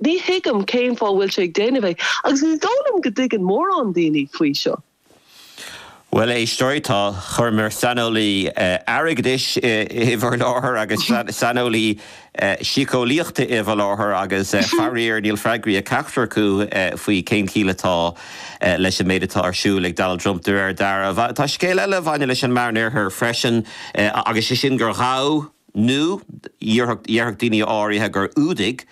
Ní thuigim cén fáth a bhfuil sé ag déanamh é agus ní dóigh liom go dtuigeann mórán daoine faoi seo. Bhuel, a éisteoirí, tá chuireamar saineolaí airgeadais i bhur láthair agus saineolaí síceolaíochta i bhur láthair agus faraor níl freagraí ag ceachtar acu faoi cén chiall atá leis an méid atá ar siúl ag Donald Trump de réir dealraimh. Tá scéal eile a bhaineann leis an Meánoirthear freisin agus sé sin gur ghabh, nó déarfadh daoine áirithe gur fhuadaigh.